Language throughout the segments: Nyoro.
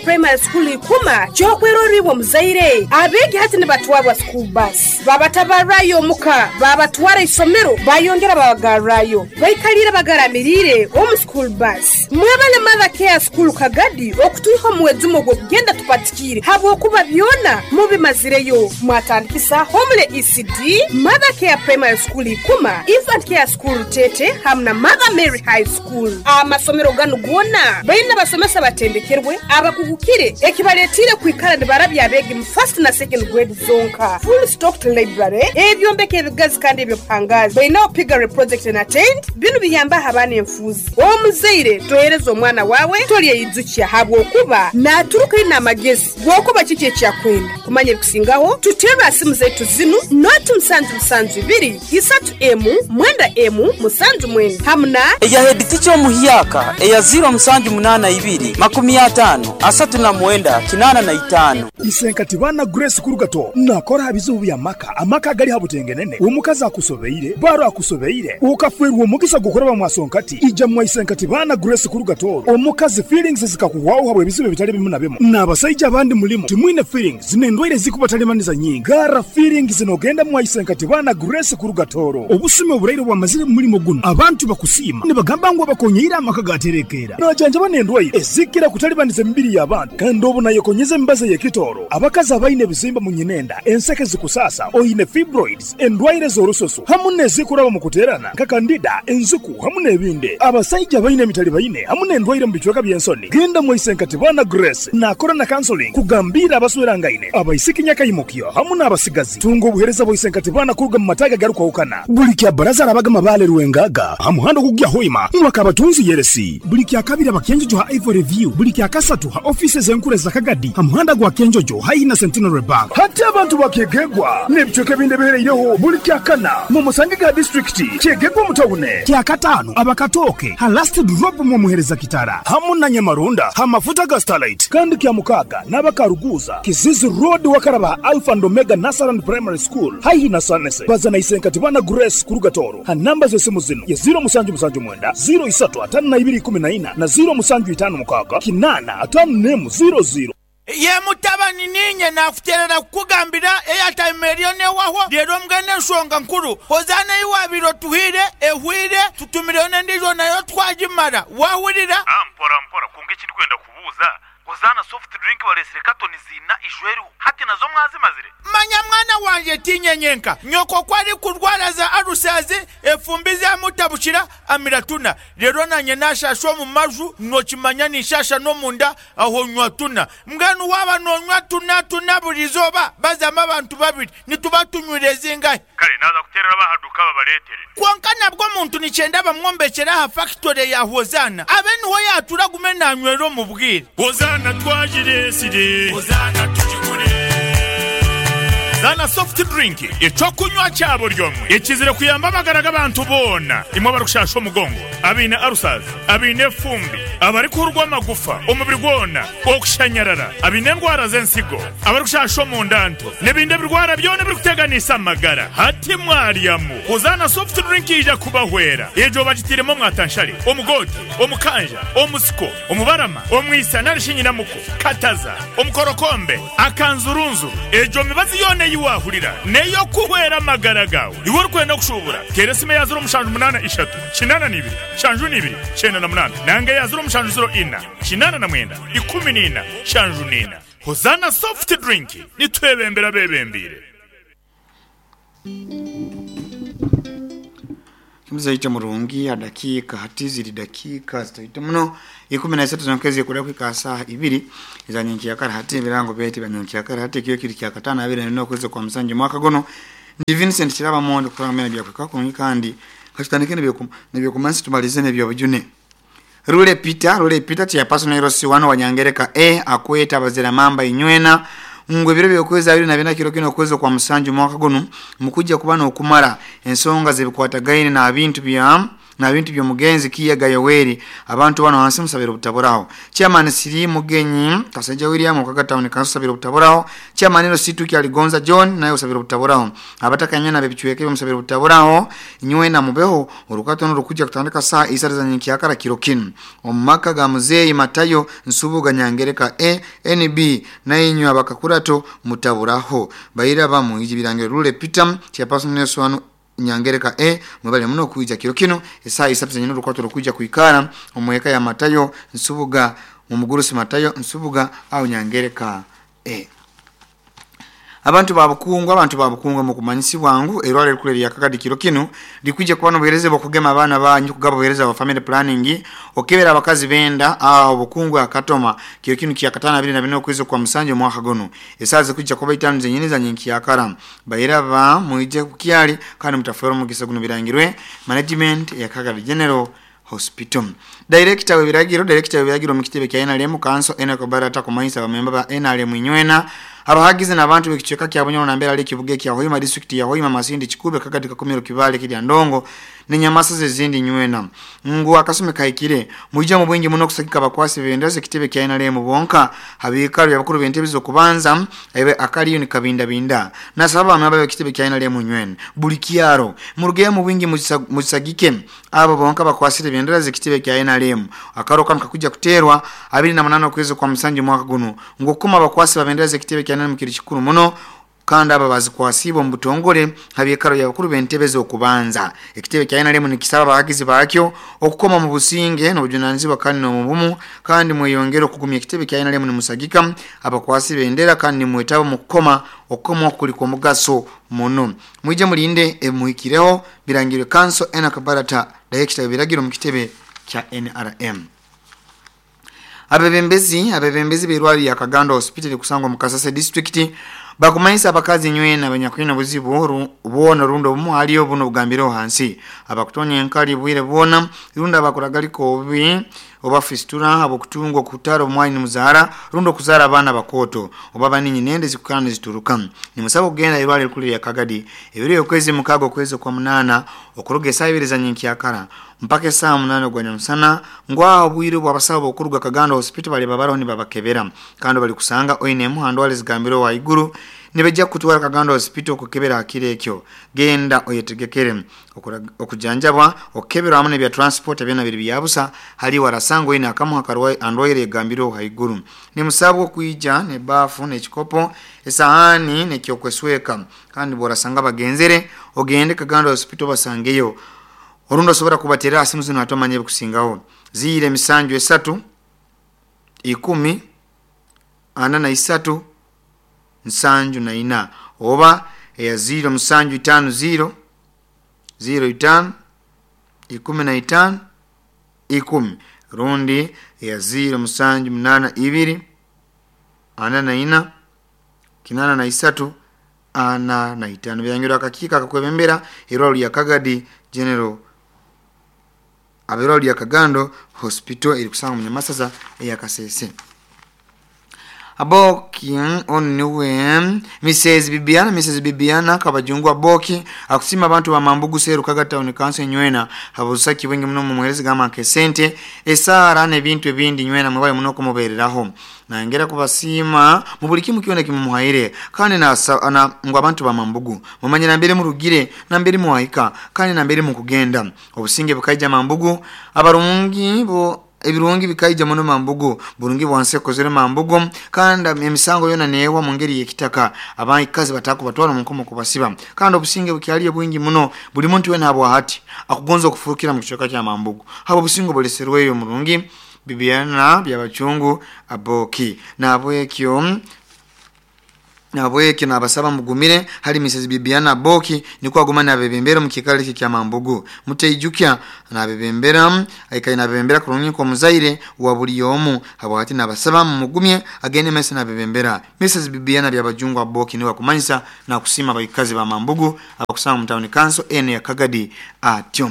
Primary School Ikuma ky'okwerorra iwe omuzaire. Abeegi hati nibatwarwa school bus, babatabarrayo omuka, babatwara isomero, bayongera babagarrayo. Baikaliire bagaramiriire omu school bus. Mwebale Mother Care School Kagadi okutwiha omu mwejumo ogw'okugenda tupatikiire habwokuba byona mubimazireyo. Mwatandikisa Homely ECD, Mother Care Primary School Ikuma, Infant Care School Rutete hamu na Mother Mary High School. Amasomero ganu goona baine abasomesa abatendekerwe, abakugukire ekibaletiire kwikara nibarabya abeegi mu first na second grade zonka. Full stocked library, ebyombeko ebigazi kandi eby'obuhangaazi. Baineho piggery project and attained. Binu biyambaho abaana enfuuzi. Omuzaire tohereza omwana waawe tolyeyijukya habwokuba naaturuka aine amagezi g'okuba kiki eki akwenda. Kumanya ebikusingaho, tuterre ha simu zaitu zinu, noti musanju musanju ibiri, isatu emu, mwenda emu, musanju mwenda hamu na. Eya heeditica omuhyaka eya ziiro musanju munaana ibiri, makumi ataano, asatu na mwenda, kinaana na itaano. Isenkati baana Grace Kurugato nakora aha bizibu by'amaka, amaka agali ha butengenene, omukazi akusobeire, baro akusobeire, okafeerwa omugisa gw'okuraba mwa Sonkati, ija mwa Isenkati baana Grace Kurugato, omukazi feelings zikakuhwaho habw'ebizibu ebitali bimu na bimu, n'abasaija abandi mulimu timwine feelings n'endwaire ezikubatalibanisa nyingi, garra feelings n'ogenda mwa Isenkati baana Grace Kurugatoro. Obusumi oburaire obwamazire mu mulimo guno, abantu bakusiima nibagamba ngu abakonyeire amaka gaterekeera. Najanjaba n'endwaire ezikira kutalibaniza emibiri y'abantu kandi obu nayekonyeza emibazi ey'ekitooro, abakazi abaine ebizimba mu nyinenda, enseke zikusaasa, oine fibroids, endwaire z'orususu hamu n'ezikuraba mu kuteerana nka kandida, enziku hamu n'ebindi. Abasaija abaine emitalibaine hamu n'endwaire mu bicweka by'ensoni, genda mwaise Nkatibana Grace naakora na counseling kugambiira abaswerangaine, abaisiki nyakaimukyo hamu n'abasigazi. Tunga obuheereza bwa Isenkatibana kuruga mu mataagi agarukwahukana. Buli kya Baraza arabaga Mabaale Rwengaga ha muhanda ogukugya Hoima mwaka Abatunzi Yeresi. Buli kya Kabiri aba Kyenjojo ha Ivory View. Buli kya Kasatu ha ofiisi ez'enkuru eza Kagadi ha muhanda gwa Kyenjojo haihi na Centenary Bank. Hati abantu ba Kyegegwa n'ebicweka ebindi ebihereireho buli kya Kana mumusangege ha disiturikiti Kyegegwa omu tawune. Kya Kataano aba Katooke ha Last Drop mwomuhereza Kitara hamu na Nyamarunda ha mafuta ga Starlight. Kandi kya Mukaaga n'aba Karuguuza, Kizizi Road wakaraba ha Alpha and Omega Nursery and Primary School haihi na Sanese. Baza na Isenkatibana Grace kuruga Tooro ha namba z'esimu zinu ye ziiro musanju musanju mwenda, ziiro isatu ataano na ibiri ikumi na ina na ziiro musanju itaano mukaaga kinaana ataano n'emu ziiro ziiro. Ye mutabani, niinye naakuteerera kukugambira eyataima eriyo n'ewahwo. Reero mbwenu enshonga nkuru, Hozaana ei waabaire otuhaire ehweire, tutumireyo n'endiijo nayo twagimara. Waahurira? Mpora mpora, kwonka eki ndikwenda kubuuza, Hozaana soft drink bareetsire katoni ziina ijo eriho, hati nazo mwazimazire? Manya mwana wangye, tiinye nyenka. Nyoko ku arikurwara za alusazi, efumbi zamutabukira, amira tuna. Reero naanye naashaasha omu maju, nookimanya ninshaasha n'omunda, aho nywa tuna. Mbwenu waaba noonywa tuna tuna buri izooba, bazamu abantu babiri, nituba tunywire zingahi? Kare naaza kuteerera ab'aha duuka babareetere. Kwonka nabwo omuntu nikyenda bamwombekyere aha fakitore ya Hozaana, abe niho yaatuura agume naanywera omu bwire. Hozaana twagireetsire. Hozaana tugigure. Zaana Soft Drink, eky'okunywa kya buri omwe ekizire kuyamba amagara g'abantu boona, imwe abarikushasha omugongo, abaine ulcers, abaine efumbi, abarikuhurwa amagufa omubiri gwona, okushanyarara, abaine endwara z'ensigo, abarikushasha omunda nto, n'ebindi ebirwara byona ebirikuteganisa amagara. Hati mwaryamu, Hozaana Soft Drink yaija kubahwera. Egyo bagitairemu omwatanshare, omugoote, omukanja, omusiko, omubarama, omwisa nari shi nyinamuko, kataza, omukorokombe, akanzurunzuru. Egyo mibazi yoona ei waahurira n'ey'okuhwera amagara gaawe. Iwe orikwenda kushuubura, teera esimu eya ziro mushanju munaana ishatu, kinaana na ibiri, nshanju na ibiri, kyenda na munaana nanga eya ziro mushanju ziro ina, kinaana na mwenda, ikumi na ina, nshanju na ina. Hozaana Soft Drink, nitwebembera abeebembeire. Omuzaija murungi aha dakiika hati ziri dakiika zitaito muno 13 zonka ezikuraho kuhika aha saaha ibiri eza nyenkyakara hati ebirango byaitu ebya nyenkyakara hati ekiro kiri kyakataano abiri na bina okwezi kwa musanju omwaka guno ndi Vincent Kiraba Mondo kurora ngu byona byakuhikaho kurungi kandi katutandike n'ebyokumansa tumalize n'ebyobujune. Lule Peter, Lule Peter Chairperson LC1 wa Nyangereka A akweta abazira mamba inywena ngu ebiro by'okwezi 24 kiro kinu okwezi okwa musanju omwaka gunu mukujja kuba n'okumara ensonga z'ebikwatagaine n'abintu bya Na bintu by'omugenzi Kiyaga Yoweri. Abantu bano hansi musabira obutaburaho. Chairman Siri Mugenyi Kasaija William Okaga Town Council sabira obutaburaho. Chairman Ero Situ Kyaligonza John naye usabira obutaburaho. Abataka nyana bebichweke musabira obutaburaho. Nywe na mubeho orukato n'orukuja kutandika saa isatu za nyenkyakara kiro kinu. Omumaka ga muzeeyi Matayo Nsubuga Nyangereka A NB naye inywe abakakurato mutaburaho. Baira bamu iji birangiro Rule Peter Chairperson Nelson Nyangereka A mwebale muno kuija kiro kino esaa isatu zenyine orukwato rukuja kuikara omweka ya Matayo Nsubuga mumugurusi Matayo Nsubuga au Nyangereka A. Abantu babukungu mu kumanyisibwa ngu erwale rukule lya Kagadi kiro kino likuje kuba n'obuhereza bw'okugema abaana banyu kugaba obuhereza bwa family planning okebera abakazi benda aho obukungu akatoma kiro kino kya katana 24 okwezi kwa musanju mwaka gono esaa zikujja kuba itano zenyine za nyenkyakara bairaba muije kukyali kandi mutafera omugisa guno birangirwe management ya Kagadi General Hospital. Director w'ebiragiro mu kitebe kya NRM Council Enoch Barata kumanyisa abamemba ba NRM inywena abahagize n'abantu b'ekichweka kya Bunyoro na mbera kibuge kya Hoima district ya Hoima Masindi Kikube Kagadi Kakumiro Kibale kirya Ndongo ne Nyamasa zezindi nywena ngu akasume kaikire muija mu bwingi muno kusagika abakwasi bendaze kitebe kya NRM bonka habikalo yabakuru bentebe zo kubanza ebe akaliyo ni kabinda binda nasaba amaba kitebe kya NRM nywena buli kyaro muruge mu bwingi musagike abo bonka bakwasire bendera kitebe kya NRM akaro kanu kakuja kuterwa 28 okwezi kwa musanju mwaka guno ngokuma abakwasi babendera kitebe kya NRM kiri kikuru muno kandi aba bazikwasibo mu butongole habikaro yabakuru bentebe zo kubanza ekitebe kya NRM nikisaba abahagizi bakyo okukoma mu businge n'obujunanizibwa kandi no mu bumu kandi mweyongere okugumya ekitebe kya NRM ni musagika abakwasi bendera kandi mwetaba mu kukoma okukoma kuli kwa mugaso muno mwije mulinde emuhikireho birangirwe Council Enoch Barata director biragiro mu kitebe kya NRM. Abebembezi b'erwali ya Kagando Hospital kusangwa mu Kasese district bakumanyisa abakazi nywena abanyakwina buzibu buona rundo bumu haliyo buno bugambiro hansi abakutonya enkali bwire buona runda abakuragaliko obi oba fistura abokutungwa kutaro omwani muzara rundo kuzara abana bakoto oba baninyi nende zikukana zituruka ni musaba kugenda irwali kuli ya Kagadi ebiri okwezi mukago kwezi kwa munana okuruga esabiri za nyenkyakara mpaka esaa 8 gwa nyamusana ngwa obwire bw'abasawo okuruga Kagando Hospital bali babaraho ni babakebera kandi bali kusanga oine muhando wali zigambiro wa iguru nibejja kutwara Kagando Hospital okukebera akire ekyo genda oyetegekere okujanjabwa okukebera hamwe n'ebya transport byona biri byabusa hali warasango ine akamuha karwaye andwaire egambiro haiguru ni musabwo kuija ne bafu ne kikopo esahani ne kyokwesweka kandi borasanga bagenzere ogende Kagando Hospital basangeyo orundo sobora kubatera asimu zino atomanye kusingaho zire misanju esatu 10 43 74 oba eya 0 musanju 5 0 0 5 15 10 rundi ya 0 musanju 8 2 44 83 45 byangira akakika akakwebembera erwalo lya Kagadi General aberwalo lya Kagando Hospital eri kusanga mu Nyamasaza eya Kasese. Aboki oniwe Mrs Bibiana kabajungu Aboki akusima abantu ba Mambugu Seru Kaga Town Council nywena habusaki wengi muno mu muherezi gama kesente esara n'ebintu ebindi nywena mwabaye muno kumubereraho nangera kubasima mu buli kimu kyona kimumuhaire kandi na ngo abantu ba Mambugu mumanyira mbere murugire na mbere muhaika kandi na mbere mukugenda obusinge bukaija Mambugu abarungi bo ebirungi bikaija muno Mambugu burungi bwanse kozere Mambugu kandi emisango yona neewa mu ngeri yekitaka abaikazi batako batwara mu nkomo kubasiba kandi obusinge bukyaliyo bwingi muno buli muntu wena abo hati akugonza okufurukira mu kichweka kya Mambugu habo busingo buleserweyo murungi Bibiana byabachungu Aboki nabwekyo nabasaba mugumire hali Mrs Bibiana Aboki niko agumana abebembera mu kikali kya Mambugu muteijukia nabebembera aikaye nabebembera kurungi kwa muzaire wa buli yomu habo hati nabasaba mugumye agende mese nabebembera Mrs Bibiana byabajungu Aboki niwa kumanyisa na kusima abaikazi ba Mambugu abakusanga mu town council ene ya Kagadi atyo.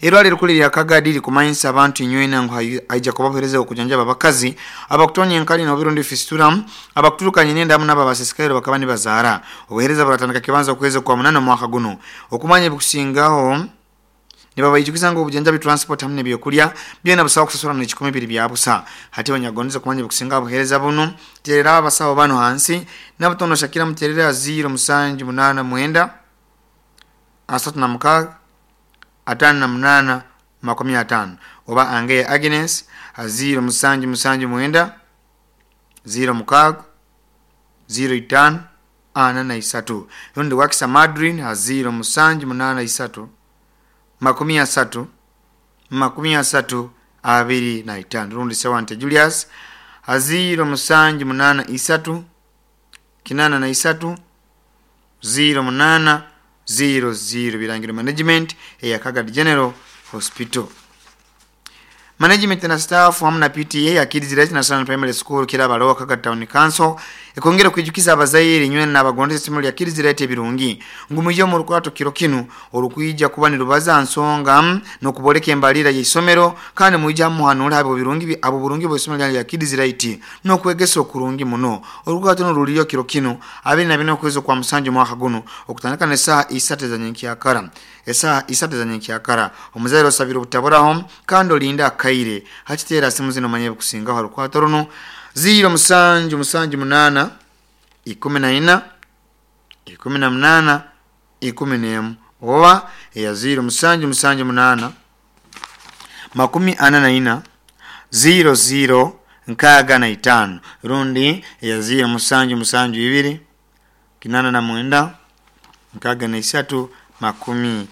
Erwali rukuli lya Kagadi likumanyisa abantu inywena ngu haija kubahereza okujanjaba abakazi abakutonya enkali n'obirundi fistura abakuturukanye nenda hamwe n'ababasisikaire bakaba nibazaara obuhereza buratandika kibanza okwezi kwa 8 mwaka guno okumanya ebikusingaho Nibabaijukiza ngu obujanjabi, transport hamu n'ebyokulya byona busaho kusasura n'ekikumi biri bya busa. Hati abanyagondeze kumanya ebikusinga obuheereza bunu, terera abasaho banu hansi nabutono Shakira, muterera 0789 36 58 50, oba Angeya Agnes 0779 06 05 43, rundi Wakisa Madrin 0783 30 30 25, rundi Sewante Julius 0783 83 08 00. Birangiro Management eya Kagadi General Hospital. Management na staff hamu na PTA ya Kids Right National Primary School Kirabalowa Kagadi Town Council ekongera kwijukiza abazaire inywe n'abagondeza isomero lya Kids Right ebirungi ngu mwije mu rukwato kiro kinu orukwija kuba nirubaza nsonga n'okuboleka embalira y'isomero, kandi mwija muhanura abo birungi abo burungi bw'isomero lya Kids Right n'okwegesa okurungi muno. Orukwato n'oruliyo kiro kinu 24 okwezi kwa musanju mwaka guno okutandika n'esaaha 3 za nyenkyakara, esaaha 3 za nyenkyakara. Omuzaire osabire obutaburaho kandi olinda akaire hakiteera simu zino manye kusingaho rukwato runo 0778 14 18 11 oba eya 0778 44 00 65, rundi eya 0772 89 63 20.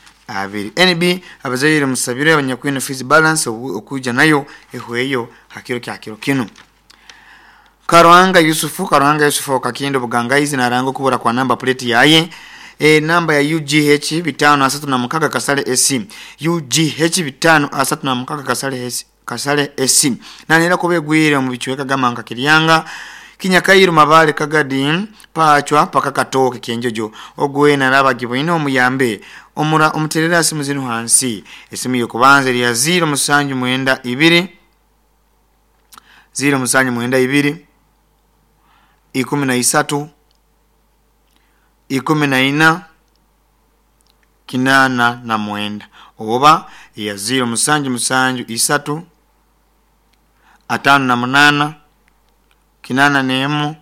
NB abazaire musabire abanyakwine fees balance okuja nayo ehweyo hakiro kya kiro kinu. Karuhanga Yusufu, Karuhanga Yusufu okakindo bugangaizi naranga kubura kwa namba plate yaye namba ya UGH 536 kasale SC, UGH 536 kasale SC, kasale SC nanera kubegwire mu bichweka gama nka Kiryanga Kinyakairu Mabale Kagadi Pachwa paka Katoke Kyenjojo. Ogwe naraba gibwine omuyambe omura omuterera simu zinu hansi. Esimu yokubanza ya 0792 0792 13 14 89 oba ya 0773 58 81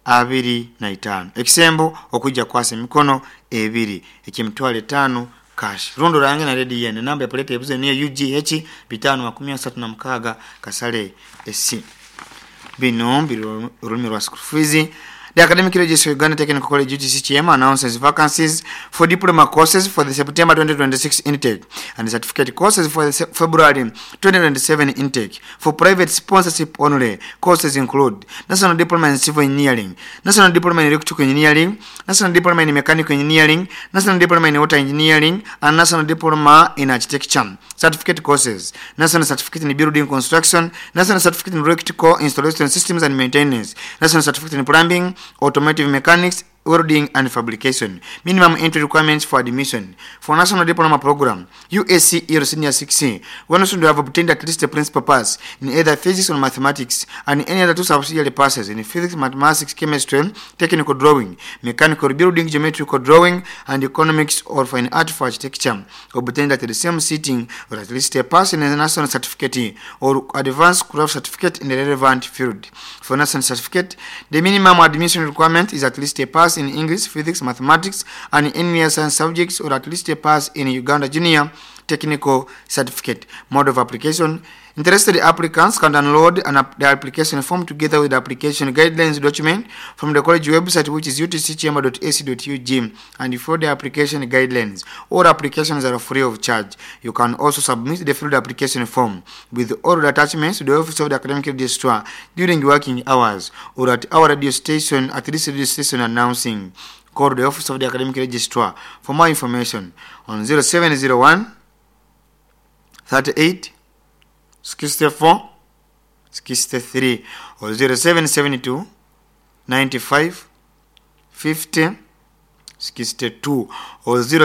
25. Ekisembo okujja kwasa emikono ebiri eky'emitwalo etaano cash. Rundo range na redi yene namba ya plate ebuze niyo UGH 536 kasale SC. Bino biri olulimi lwa school fees. The Academic Registry of Uganda Technical College UTC Kyema announces vacancies for diploma courses for the September 2026 intake and certificate courses for the February 2027 intake. For private sponsorship only, courses include National Diploma in Civil Engineering, National Diploma in Electrical Engineering, National Diploma in Mechanical Engineering, National Diploma in Water Engineering, and National Diploma in Architecture. Certificate courses: National Certificate in Building Construction, National Certificate in Electrical Installation Systems and Maintenance, National Certificate in Plumbing, Automotive Mechanics, Welding and Fabrication. Minimum entry requirements for admission. For National Diploma Program, USC Euro Senior 6C, one should have obtained at least a principal pass in either physics or mathematics and any other two subsidiary passes in physics, mathematics, chemistry, technical drawing, mechanical building, geometrical drawing, and economics or fine art for architecture, obtained at the same sitting, or at least a pass in a national certificate or advanced craft certificate in the relevant field. For national certificate, the minimum admission requirement is at least a pass in English, physics, mathematics, and any science subjects, or at least a pass in Uganda Junior Technical Certificate. Mode of application: interested applicants can download the application form together with the application guidelines document from the college website, which is utckyema.ac.ug, and follow the application guidelines. All applications are free of charge. You can also submit the filled application form with all the attachments to the office of the academic registrar during working hours or at our radio station at this radio station announcing. Call the office of the academic registrar for more information on 0701 38 64 63 or 0772 95 50 62 or 0.